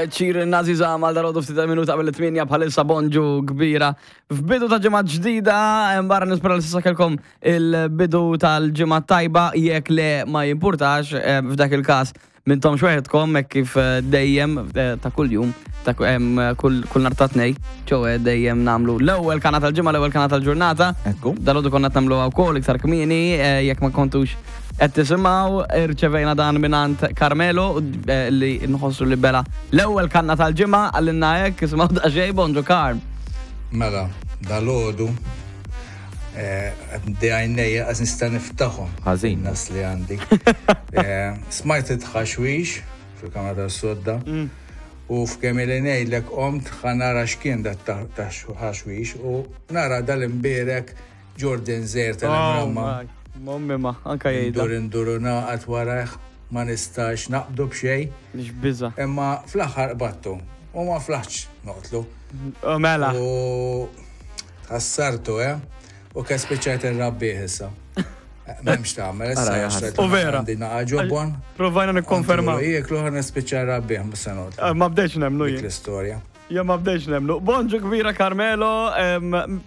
Ċir Nazi Zama għal dalodu ftit minuta qabel it-tminja bħalissa bonġu kbira. F'bidu ta' ġimgħa ġdida, barra nispera li s'issa kellkom il-bidu tal-ġimgħa tajba jekk le ma jimpurtax eh, f'dak il-każ mintom xweħedkom hekk kif eh, dejjem eh, ta' kuljum ta' kull kull nhar ta' tnej, ċowe dejjem nagħmlu l-ewwel kana tal-ġimgħa, l-ewwel kana tal-ġurnata. Ekku. Dalodu konna nagħmluha wkoll iktar kmieni jekk ma kontux Qed tisimgħu irċevejna dan mingħand Carmelo eh, li nħossu li bela l-ewwel kanna tal-ġimgħa għallinna hekk isimgħu daqsxejn bonġu Carm. Mela, dalodu eh, qed għajnejja qas nista' niftaħhom. Ħażin. Nas li għandi. Eh, smajt it-tħaxwix fil-kamra tas-sodda. U f'kemm ili ngħidlek qomt ħa nara x'kien dat taħxwix u nara dal-imbierek Jordan żgħir tal-imramma. Oh, Mommi ma, anka jgħidha. Ndur indur u naqgħad warajh, ma nistax naqbdu b'xejn. X'biża'. Imma fl-aħħar qbadtu u ma flaħtx noqtlu. Oh, mela. U ħassartu, eh? U ke spiċċajt irrabbih issa. M'hemmx tagħmel, issa. U vera. Għandi naqa' ġobon. Provajna nikkonfermaw. Jieklu ħa nispiċċa rrabbih mhux se noqtlu. Eh, ma bdejx nemmnu jien. L-istorja. Jien ma bdejx nemmnu. Bonġu kbira Carmelo,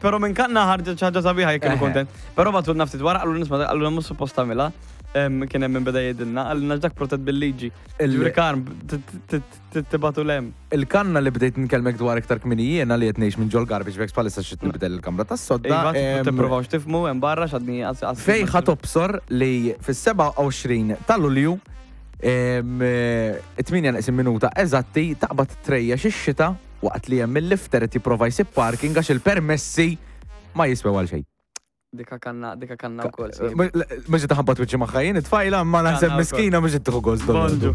però minn kanna ħarġet xi ħaġa sabiħa jekk kienu kontent. Però bagħtulna ftit wara qalulna nisma' qalulna mhux suppost tagħmilha. Kien hemm min beda jgħidilna, qalilna dak protett bil-liġi. Ġifieri Karm, tibgħatu 'l hemm. Il-kanna li bdejt nkellmek dwar iktar kmieni jiena li qed ngħix minn ġol garbage bags bħalissa xi nibdel il-kamra tas-sodda. Iva, tipprovawx tifhmu hemm barra x'għadni Fejn ħa tobsor li fis-27 ta' Lulju It-tmienja neqsin minuta eżatti taqbad trejjex ix-xita waqt li hemm il-lifter qed jipprova jsib parking għax il-permessi ma jiswew għal xejn. Dika kanna, dika kanna wkoll. Mhux qed taħbat wiċċi magħha jien it-tfajla, imma naħseb miskina mhux qed tieħu gost. Bonġu.